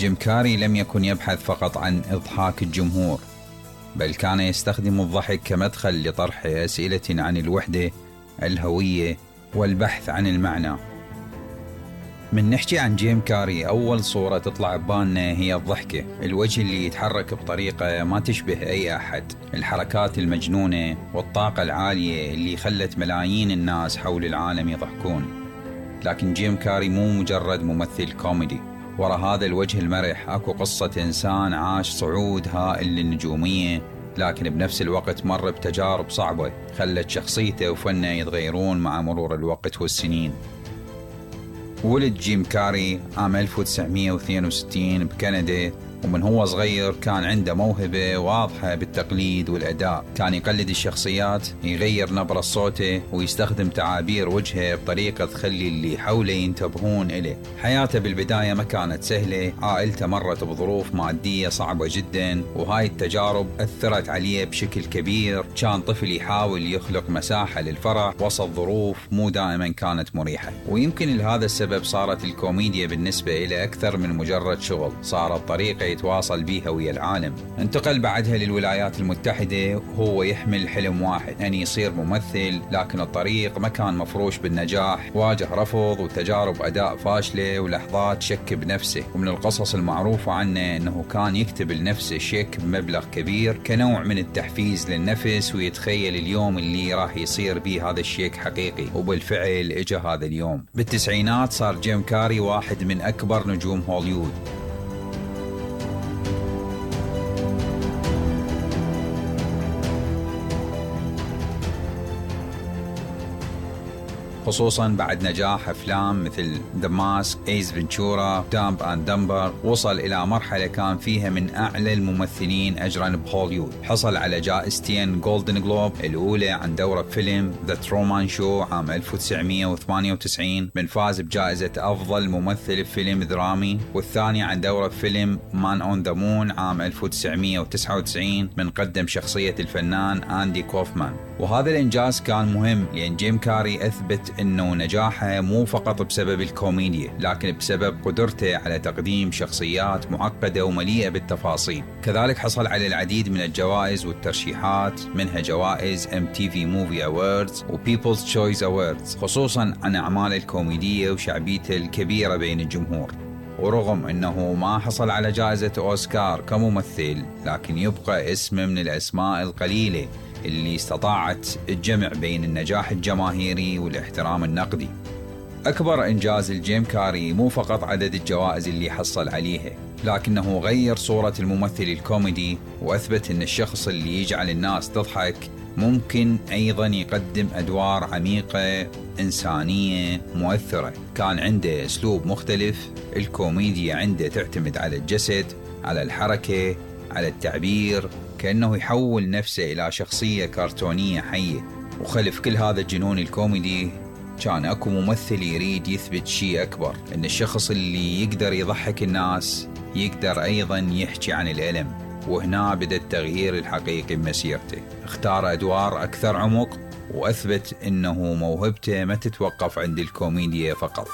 جيم كاري لم يكن يبحث فقط عن إضحاك الجمهور، بل كان يستخدم الضحك كمدخل لطرح أسئلة عن الوحدة، الهوية، والبحث عن المعنى. من نحكي عن جيم كاري أول صورة تطلع ببالنا هي الضحكة، الوجه اللي يتحرك بطريقة ما تشبه أي أحد، الحركات المجنونة والطاقة العالية اللي خلت ملايين الناس حول العالم يضحكون. لكن جيم كاري مو مجرد ممثل كوميدي، وراء هذا الوجه المرح أكو قصة إنسان عاش صعود هائل للنجومية، لكن بنفس الوقت مر بتجارب صعبة خلت شخصيته وفنه يتغيرون مع مرور الوقت والسنين. ولد جيم كاري عام 1962 بكندا، ومن هو صغير كان عنده موهبة واضحة بالتقليد والأداء. كان يقلد الشخصيات، يغير نبرة صوته، ويستخدم تعابير وجهه بطريقة تخلي اللي حوله ينتبهون إليه. حياته بالبداية ما كانت سهلة، عائلته مرت بظروف مادية صعبة جدا، وهاي التجارب أثرت عليه بشكل كبير. كان طفل يحاول يخلق مساحة للفرح وسط ظروف مو دائما كانت مريحة، ويمكن لهذا السبب صارت الكوميديا بالنسبة إليه أكثر من مجرد شغل، صارت طريقة يتواصل بيها ويا العالم. انتقل بعدها للولايات المتحدة وهو يحمل حلم واحد، أن يصير ممثل، لكن الطريق ما كان مفروش بالنجاح، واجه رفض وتجارب أداء فاشلة ولحظات شك بنفسه. ومن القصص المعروفة عنه أنه كان يكتب لنفسه شيك بمبلغ كبير كنوع من التحفيز للنفس، ويتخيل اليوم اللي راح يصير بيه هذا الشيك حقيقي، وبالفعل اجى هذا اليوم. بالتسعينات صار جيم كاري واحد من أكبر نجوم هوليوود، خصوصا بعد نجاح أفلام مثل The Mask، Ace Ventura، Dumb and Dumber. وصل إلى مرحلة كان فيها من أعلى الممثلين أجرا بهوليوود، حصل على جائزتين جولدن جلوب، الأولى عن دوره بفيلم The Truman Show عام 1998 من فاز بجائزة أفضل ممثل بفيلم درامي، والثاني عن دوره بفيلم Man on the Moon عام 1999 من قدم شخصية الفنان أندي كوفمان. وهذا الإنجاز كان مهم لأن جيم كاري أثبت أنه نجاحه مو فقط بسبب الكوميديا، لكن بسبب قدرته على تقديم شخصيات معقدة ومليئة بالتفاصيل. كذلك حصل على العديد من الجوائز والترشيحات، منها جوائز MTV Movie Awards و People's Choice Awards، خصوصا عن أعماله الكوميدية وشعبيته الكبيرة بين الجمهور. ورغم أنه ما حصل على جائزة أوسكار كممثل، لكن يبقى اسمه من الأسماء القليلة اللي استطاعت الجمع بين النجاح الجماهيري والاحترام النقدي. أكبر إنجاز الجيم كاري مو فقط عدد الجوائز اللي حصل عليها، لكنه غير صورة الممثل الكوميدي، وأثبت أن الشخص اللي يجعل الناس تضحك ممكن أيضا يقدم أدوار عميقة إنسانية مؤثرة. كان عنده أسلوب مختلف، الكوميديا عنده تعتمد على الجسد، على الحركة، على التعبير، كأنه يحول نفسه إلى شخصية كرتونية حية. وخلف كل هذا الجنون الكوميدي كان أكو ممثل يريد يثبت شيء أكبر، أن الشخص اللي يقدر يضحك الناس يقدر أيضا يحكي عن الألم. وهنا بدأ التغيير الحقيقي بمسيرته، اختار أدوار أكثر عمق، وأثبت أنه موهبته ما تتوقف عند الكوميديا فقط.